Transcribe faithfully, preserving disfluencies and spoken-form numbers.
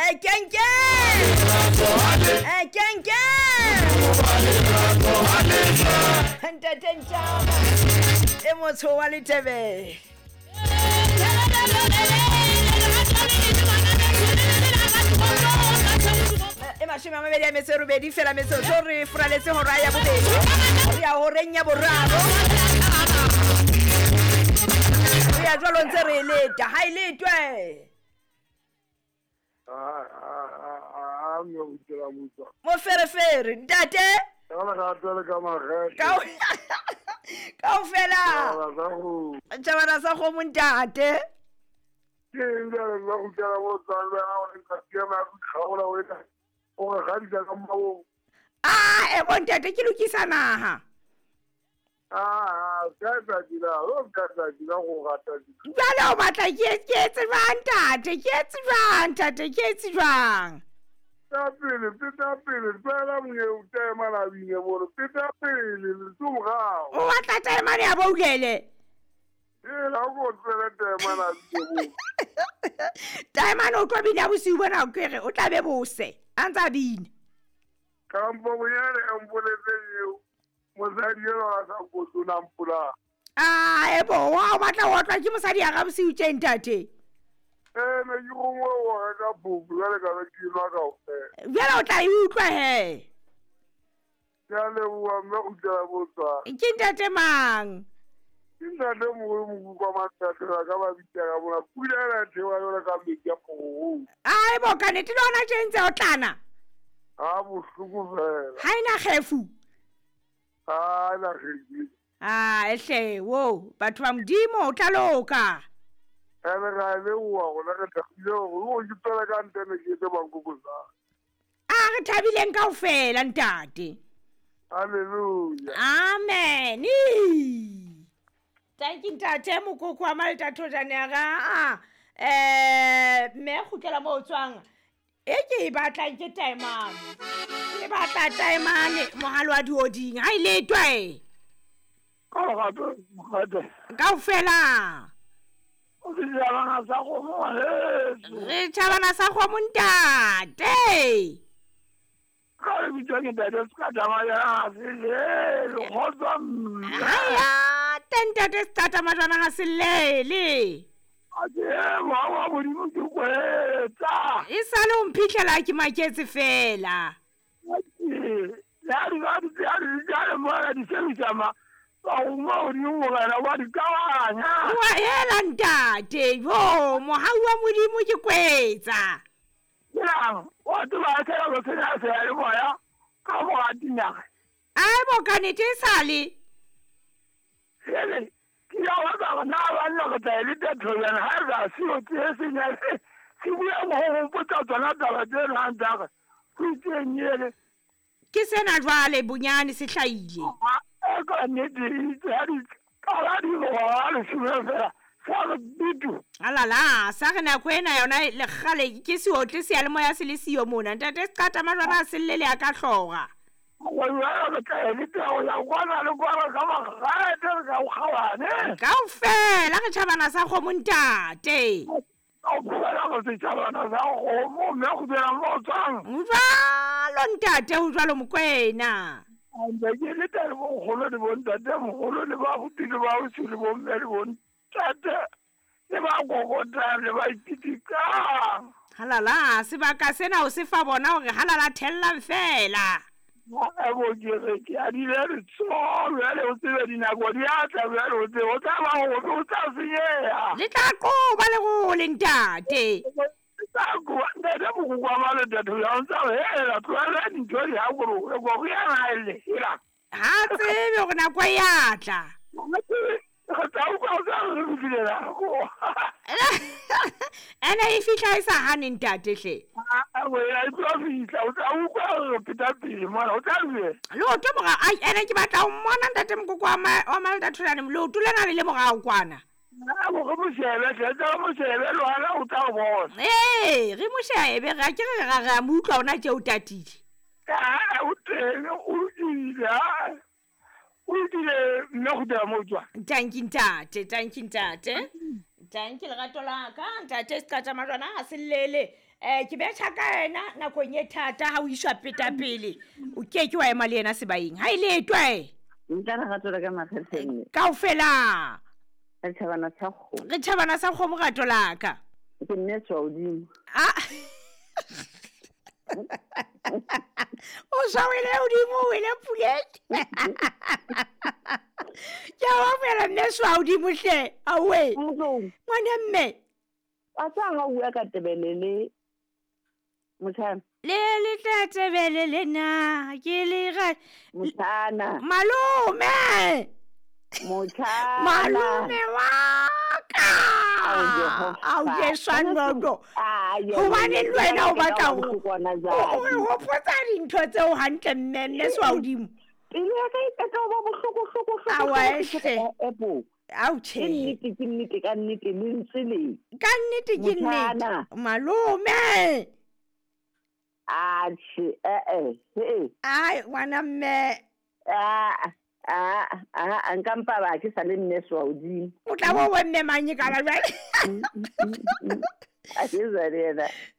E kenke e kenke ntate Ntjama e motho wa Letebe. E mashome a mabedi a metso e robedi fela metsotso re furaletse hora ya bobedi re ya horeng ya boraro re ya jwalo ntse re leta ha e letwe moferefere ntate kaofela tjhabana sa kgomo ntate. Ah, e bo ntate ke lokisa naha. Jwale o batla ke ke etse jwang ntate, ke etse jwang ntate, ke etse jwang? Peta pele, peta pele, tlwaela monyeo taemane a bine bore, peta pele, le morao. O batla taemane ya boulele? Ee, ha o tswele taemane a bine bore. Taemane o tlo bina bosiu bona o kere o tla be bose a ntsa bina. Kampo bonyane e mpoletseng eo mosadi eno a sa nkotona mpola. Ah, e bo wa o batla ho otlwa ke mosadi ya ga bosiu tje ntate. Ee, ne ke gongwe o reka phofo jwale ka be ke nwa kaofela. Jwale o tla e utlwa he. Ke a leboha mme kgutlela mo tswang. Ke ntate mang? Ke ntate moholo Mokoko wa Mathatela ka ba bitsa ka mona pula ena e theoha jwalo ka metsi a phorong. Ai bo ka nnete le hona tje ntse o tlana. Ha bohloko fela. Ha ena kgefu. Ha ena kgefu. Ah, ehle wo batho ba Modimo o tla loka. Ene ra leboha rona re thabile hore o ke tswela ka ntle ne ke etse bankoko sa. A re thabileng kaofela ntate. Hallelujah. Amen. Thank you ntate Mokoko wa Maltathojane ya ga. Eh mme kgutlela mo o tswang. E ke e batlang ke taemane. Ke batla taemane mohalo wa dioding. Ha e letwe. Ka gato mogate. Kaofela. O setjhabana sa kgomo ngwaneso. Re tjhabana sa kgomo ntate. Ka le bitswa ke ntate Seqata-Majwana ha se llele, kgotsa mme. Haya, teng ntate Seqata-Majwana ha se llele. Atjhe, mohau wa Modimo ke kwetsa. E sale o mphitlhela ke maketse fela. Atjhe, le ha di ba di ha di jale mona di sebetsa ma. Ba o Modimo morena wa di kabanya. Wa hela ntate, yo mohau wa Modimo ke kwetsa. Yang, wa tseba tsela go tsena seyalemoya ka mo a dinaga. Ai bo ka nnete e sale. Hele, ke ya wa ka na ba nna go tla le tethonyana ha re se o tse senya. Ke bua mo go mpotsa tsona taba tse nang tsa ka. Ke tsenyele. Ke sena jwale bonyane se hlahile. E ka nnete ha di ka ba di go wa le fela. Sa re bitu. Alala, sa re nako ena yona le kgale ke seotle seyalemoya se le siyo mona. Ntate Seqata-Majwana a se llele a ka hloga. Wa wa re tla le tla ya kwana le kwana ka magate re ka o kgawane. Kaofela re tjhabana sa kgomo ntate. Kaofela re setjhabana sa kgomo mme kgutlela mo tswang. Jwalo ntate ho jwalo Mokwena. Ntse ke le teng bo nkgono le bo ntate moholo le ba abuti le ba ausi le bo mme le bo ntate le ba kokotang le ba ipitikang. Halala, sebaka sena o se fa bona hore halala thellang fela. Ebo ke re ke a dile letsoho jwale o tsebe dinako di a tla jwale o tsebe o tla ba hore o tla senyeha. Le tla qoba lerole ntate. Tla qoba ntate Mokoko wa Maltathojane o ntsa hela tlohela dintho di hakolohe ko re yana e le hela. Ha tsebe hore nako e a tla. Re tla utlwa o tla re fihlile nako. Ene e fihla e sa hane ntate hle. A bo e tlo fihla o tla utlwa re pheta pele mona o tla bue. Leoto mora ai ene ke batla ho mmona ntate Mokoko wa wa Maltathojane leoto lena le le morao kwana. A bo re mo shebe hle tla mo shebe le hona o tla o bona. Ee, re mo shebe ra ke re ra ra mo utlwa ona tje o tatile. Ah, o teng o lokile. O lokile mme kgutlela mo tswa. Thank you ntate, thank you ntate. Thank you lerato la ka ntate Seqata-Majwana ha se llele. um ke betšha ka ena nakong e thata ga o išwa petapele o ke ke wa ema le yena sebaeng ga e letwe Nka lerato la ka makgetheng mme. Kaofela. Re tjhabana sa kgomo. Re tjhabana sa kgomo rato la ka. Ke mme tswa hodimo. Ah. O sa wele hodimo o wele puleng. Ke a o fela mme swa hodimo hle. Awe. Ngwana mme. A tsa ha o bua ka tebele le motjhana. Le le tla tebele le na ke le ga Motjhana. Malome. Motjhana. Malome wa ka. Au Jesu nono. Hobane le wena o batla ho o hopotsa dintho tseo hantle mme mme swa hodimo. Pelo ya ka e qeta ho ba bohloko hloko hloko. Awa ehle. Au Ke tjhe. nnete ke nnete ka nnete lentswe le. Ka nnete ke nnete. Motjhana. Malome. Atjhe, eh eh, he. Ai ngwana mme. Ah ah ah, nka mpa ba ke sa le mme swa hodimo. O tla bo bo mme mang e kana jwale. A ke sa le yena.